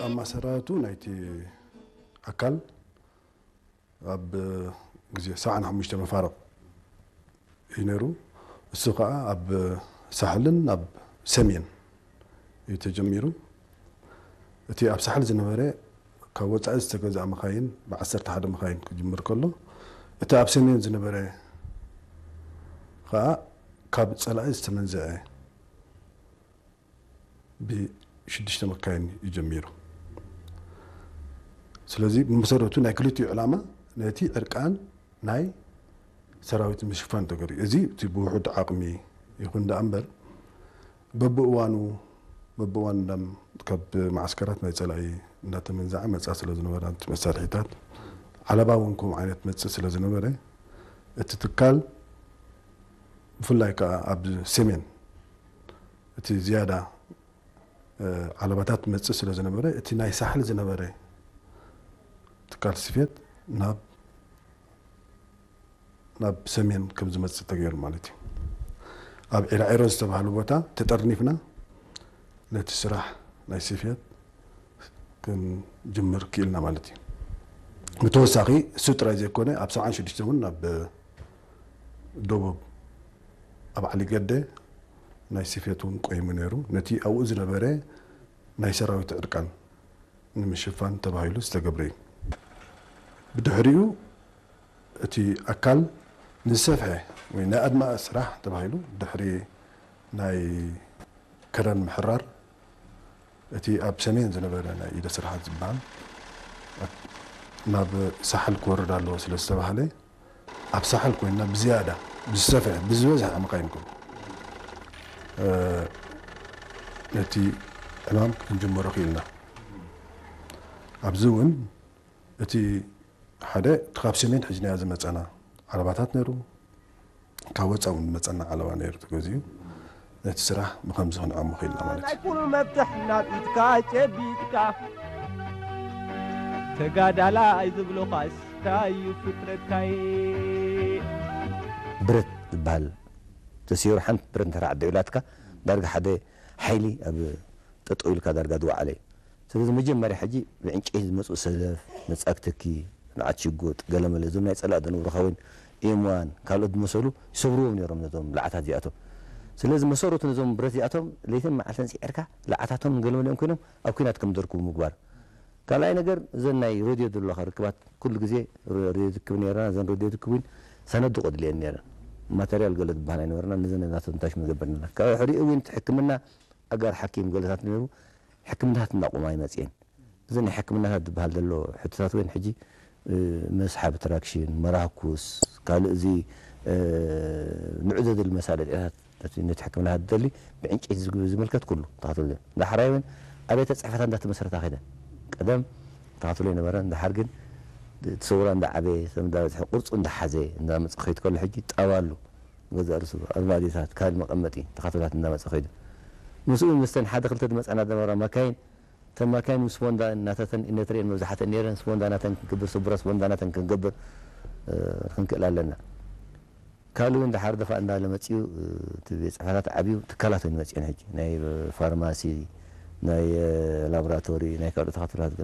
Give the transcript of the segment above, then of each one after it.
ኣማሰራቱ ናይቲ ኣካል ኣብ ግዜ ሰብዓን ሓሙሽተ መፋርቕ እዩ ነይሩ። እሱ ኸዓ ኣብ ሳሕልን ኣብ ሰሜን እዩ ተጀሚሩ። እቲ ኣብ ሳሕል ዝነበረ ካብ ወጻኢ ዝተገዝኣ መኻይን ብዓሰርተ ሓደ መኻይን ክጅምር ከሎ፣ እቲ ኣብ ሰሜን ዝነበረ ኸዓ ካብ ጸላኢ ዝተመንዘዐ ብሽዱሽተ መካይን እዩ ጀሚሩ። ስለዚ ብመሰረቱ ናይ ክልቲኡ ዕላማ ነቲ ዕርቃን ናይ ሰራዊት ምሽፋን ተገይሩ። እዚ እቲ ብውሑድ ዓቕሚ ይኹን ደኣ እምበር በብእዋኑ በብእዋኑ እንዳም ካብ ማዓስከራት ናይ ጸላኢ እንዳተመንዘዐ መጻ ስለ ዝነበረ እቲ መሳርሒታት ዓለባ እውን ከምኡ ዓይነት መጽእ ስለ ዝነበረ እቲ ትካል ብፍላይ ከኣ ኣብ ሰሜን እቲ ዝያዳ ዓለባታት መጽእ ስለ ዝነበረ እቲ ናይ ሳሕል ዝነበረ ትካል ስፌት ናብ ናብ ሰሜን ከም ዝመጽእ ተገይሩ ማለት እዩ። ኣብ ዒራዒሮ ዝተባህሉ ቦታ ተጠርኒፍና ነቲ ስራሕ ናይ ስፌት ክንጅምር ክኢልና ማለት እዩ። ብተወሳኺ እሱ ጥራይ ዘይኮነ ኣብ ሰብዓን ሽዱሽተን እውን ናብ ደቡብ ኣብ ዓሊገደ ናይ ስፌት እውን ቆይሙ ነይሩ። ነቲ ኣብኡ ዝነበረ ናይ ሰራዊት ዕርቃን ንምሽፋን ተባሂሉ ዝተገብረ እዩ። ብድሕሪኡ እቲ ኣካል ንዝሰፍሐ ወይ ናይ ኣድማዒ ስራሕ ተባሂሉ ድሕሪ ናይ ከረን ምሕራር እቲ ኣብ ሰሜን ዝነበረ ናይ ኢደ ስራሓት ዝበሃል ናብ ሳሕል ክወርድ ኣለዎ ስለ ዝተባህለ ኣብ ሳሕል ኮይንና ብዝያዳ ብዝሰፍሐ ብዝበዝሐ መኻይን ኮይኑ ነቲ ዕማም ክንጅምሮ ክኢልና። ኣብዚ እውን እቲ ሓደ እቲ ካብ ሰሜን ሒዝናዮ ዝመፀና ዓለባታት ነይሩ፣ ካብ ወፃኢ እውን ዝመፀና ዓለባ ነይሩ ተገዚኡ ነቲ ስራሕ ብከምዚ ክንዕሙ ክኢልና ማለት እዩ። ናይ ኩሉ መፍትሕ ናብ ኢድካ ጨቢጥካ ተጋዳላይ ዝብሉኻስ እንታይ እዩ ፍጥረትካይ? ብረት ዝበሃል ተሲሩ ሓንቲ ብረት እንተ ዓዲ ኢላትካ ዳርጋ ሓደ ሓይሊ ኣብ ጠጠው ኢልካ ዳርጋ ዝወዓለ እዩ። ስለዚ መጀመርያ ሕጂ ብዕንጨይቲ ዝመፅኡ ሰደፍ፣ መፃግትኪ፣ ንዓት ሽጉጥ፣ ገለመለ እዞም ናይ ፀላእ ደንብሩኻ እውን ኤምዋን ካልኦት ዝመሰሉ ይሰብርዎም ነይሮም ነዞም ላዕታት እዚኣቶም። ስለዚ መሰረቱ ነዞም ብረት እዚኣቶም ለይትን መዓልትን ፅዒርካ ላዕታቶም ገለመለኦም ኮይኖም ኣብ ኲናት ከም ዝርከቡ ምግባር። ካልኣይ ነገር እዘን ናይ ሬድዮ ዘለኻ ርክባት ኩሉ ግዜ ሬድዮ ትክብ ነርና እዘን ሬድዮ ትክብ እውን ሰነዱ ቀድልየን ነረን ማተርያል ገለ ዝበሃል ኣይነበርና ነዘን ናቶም ታሽ መገበር ነርና ካብ ሕሪኡ እውን ሕክምና ኣጋር ሓኪም ገለታት ነሩ ሕክምናታት እናቆማ ይመፅየን እዚ ናይ ሕክምናታት ዝበሃል ዘሎ ሕቶታት እውን ሕጂ መስሓብ ትራክሽን መራኩስ ካልእ እዚ ንዑ ዘድል መሳለጥያታት ነቲ ሕክምና ዝደሊ ብዕንጨይቲ ዝምልከት ኩሉ ተኸትሎ ዳሕራይ እውን ኣብያተ ፅሕፈታት እንዳተመሰረታ ከይደን ቀደም ተኸትሎ ይነበረ ዳሓር ግን እቲ ሰውራ እንዳዓበየ ሰብ እንዳበፅሐ ቅርፁ እንዳሓዘ እንዳመፀ ከይድ ከሎ ሕጂ ጣባ ኣሎ ገዛ ርሱ ኣርማዲታት ካልእ መቐመጢ ተኸትላት እንዳመፀ ከይዱ ምስኡ ምስተን ሓደ ክልተ ዝመፃና ዝነበራ ማካይን እተን ማካይን ምስ ቦንዳ እናተተን እነትሪኤን መብዛሕተን ነይረን ስቦንዳ ናተን ክንገብር ስቡረ ስቦንዳ ናተን ክንገብር ክንክእል ኣለና ካልኡ እንድሓር ደፋ እንዳለ መፅኡ እቲ ቤት ፅሕፈታት ዓብዩ ትካላት ኮይኑ መፅኦን ሕጂ ናይ ፋርማሲ ናይ ላቦራቶሪ ናይ ካልኦት ተኻትላት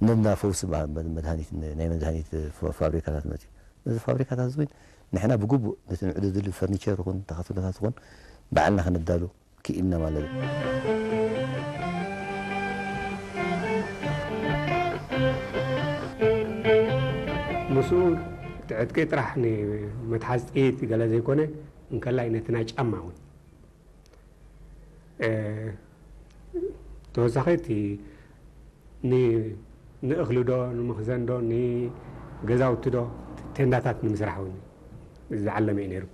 ነና ፈውሲ መድሃኒት ናይ መድሃኒት ፋብሪካታት መፅኡ ነዚ ፋብሪካታት እውን ንሕና ብግቡእ ነቲ ንዕዱ ዝድሊ ፈርኒቸር ይኹን ተኻትሎታት ይኹን ባዕልና ከነዳሉ ክኢልና ማለት እዩ። ምስኡ እቲ ዕጥቂ ጥራሕ ንመትሓዝ ጥይት ገለ ዘይኮነ እንከላይ ነቲ ናይ ጫማ እውን ተወሳኺ እቲ ንእኽሊ ዶ ንመኽዘን ዶ ንገዛውቲ ዶ ቴንዳታት ንምስራሕ እውን ዝዓለመ እዩ ነይሩ።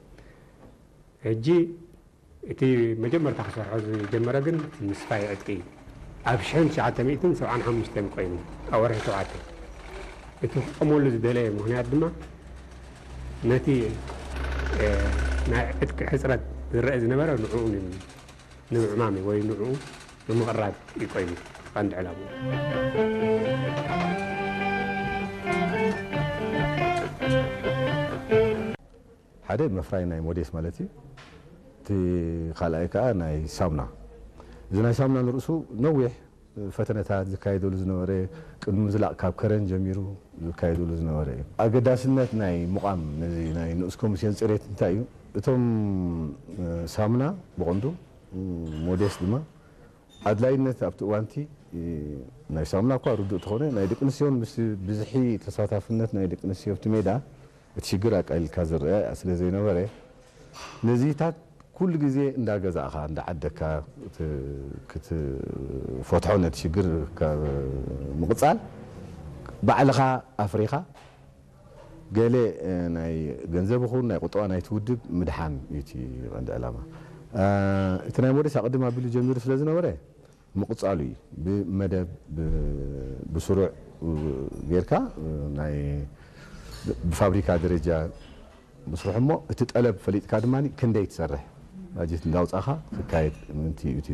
ሕጂ እቲ መጀመርታ ክሰርሖ ዝጀመረ ግን እቲ ምስፋይ ዕጥቂ እዩ። ኣብ ሽሕን ትሽዓተ ሚእትን ሰብዓን ሓሙሽተን ኮይኑ ኣብ ወርሒ ሸውዓተ እቲ ክቆመሉ ዝደለየ ምኽንያት ድማ ነቲ ናይ ዕጥቂ ሕፅረት ዝረአ ዝነበረ ንዕኡ ንምዕማም ወይ ንዕኡ ንምቕራብ እዩ ኮይኑ ቀንዲ ዕላምኡ። ሓደ መፍራይ ናይ ሞዴስ ማለት እዩ። እቲ ካልኣይ ከዓ ናይ ሳሙና። እዚ ናይ ሳሙና ንርእሱ ነዊሕ ፈተነታት ዝካየደሉ ዝነበረ፣ ቅድሚ ምዝላቕ ካብ ከረን ጀሚሩ ዝካየደሉ ዝነበረ እዩ። ኣገዳስነት ናይ ምቋም ነዚ ናይ ንኡስ ኮሚስዮን ጽሬት እንታይ እዩ? እቶም ሳሙና ብቐንዱ፣ ሞዴስ ድማ፣ ኣድላይነት ኣብቲ እዋንቲ ናይ ሳሙና እኳ ርዱእ ተኾነ፣ ናይ ደቂ ኣንስትዮን ምስ ብዝሒ ተሳታፍነት ናይ ደቂ ኣንስትዮ ኣብቲ ሜዳ እቲ ሽግር ኣቃሊልካ ዝረአ ስለ ዘይነበረ፣ ነዚታት ኩሉ ግዜ እንዳገዛእኻ እንዳዓደካ ክትፈትሖ፣ ነቲ ሽግር ምቕጻል፣ ባዕልኻ ኣፍሪኻ ገለ ናይ ገንዘብ ይኹን ናይ ቁጠባ ናይቲ ውድብ ምድሓን እዩ እቲ ቀንዲ ዕላማ። እቲ ናይ ሞዴስ ኣቐድም ኣቢሉ ጀሚሩ ስለ ዝነበረ ምቕጻሉ እዩ። ብመደብ ብስሩዕ ጌርካ ናይ ብፋብሪካ ደረጃ ምስርሑ እሞ እቲ ጠለብ ፈሊጥካ ድማ ክንደይ ትሰርሕ ባጀት እንዳውፃእኻ ክካየድ ምእንቲ እዩ እቲ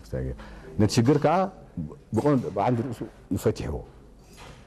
ክስታይ ገይሩ። ነቲ ሽግር ከዓ ብቐንዱ ብዓንዲ ርእሱ እዩ ፈቲሕዎ።